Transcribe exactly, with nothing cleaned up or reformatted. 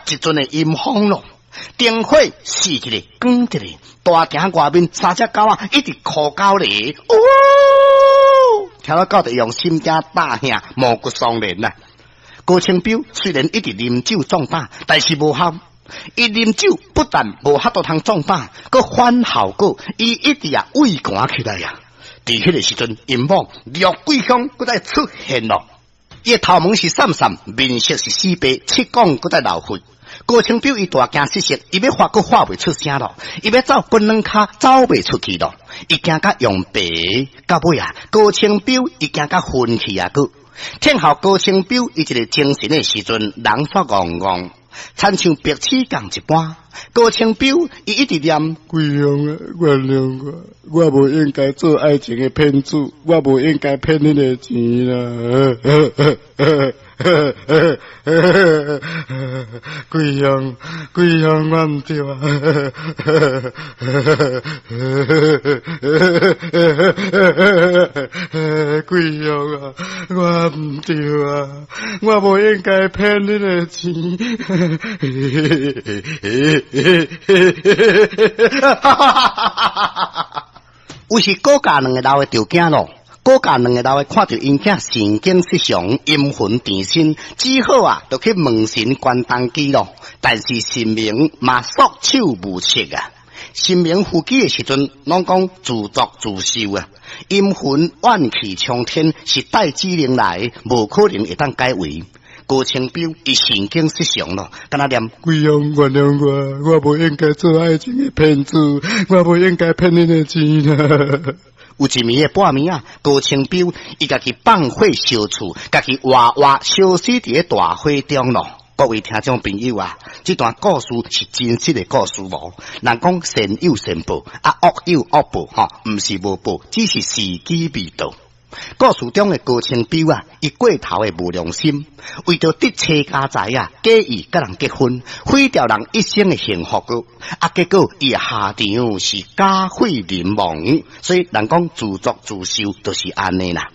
一陣的陰風咯，燈火熄一个，關一个，大廳外面三隻狗仔一直哭狗咧，哦，聽到狗就用心驚膽嚇，毛骨悚然啊！高清標雖然一直啉酒壯膽，但是無效。伊啉酒不但無法度通壯膽，閣反效果，伊一直啊畏寒起來啊！佇彼个時陣，𪜶某廖桂香閣再出現咯。伊的頭毛是散散，面色是死白，七講閣再流血。高清標伊大驚失色，伊欲喊閣喊袂出聲咯，伊欲走閣軟跤走袂出去咯，伊驚甲用白，到尾啊，高清標伊驚甲昏去啊！閣聽候高清標伊一个精神的時陣，人煞戇戇，親像白痴仝一般。高清標伊一直念：桂香啊，原諒我，我無應該做愛情的騙子，我無應該騙恁的錢啦。桂香，桂香，我毋對啊！桂香啊，我毋對啊，我無應該騙恁的錢。有時高家兩个老的就驚咯，高家兩个老的看著𪜶囝神經失常、陰魂纏身，只好啊，就去問神關東基咯。但是神明嘛束手無策啊。神明附記的時陣，攏講自作自受啊，陰魂怨氣沖天，是帶指令來，無可能會當解圍。高清標伊神經失常咯，敢若念：桂香原諒我，我無應該做愛情的騙子，我無應該騙恁的錢啊！有一暝的半暝啊，高清標伊家己放火燒厝，家己活活燒死佇咧大火中咯。各位聽眾朋友啊，這段故事是真實的故事無？人講善有善報，啊惡有惡報，吼，毋是無報，只是時機未到。故事中的高清標啊，伊過頭的無良心，為著得車家財啊，假意佮人結婚，毀掉人一生的幸福個。啊，結果伊的下場是家毀人亡，所以人講自作自受，就是按呢啦。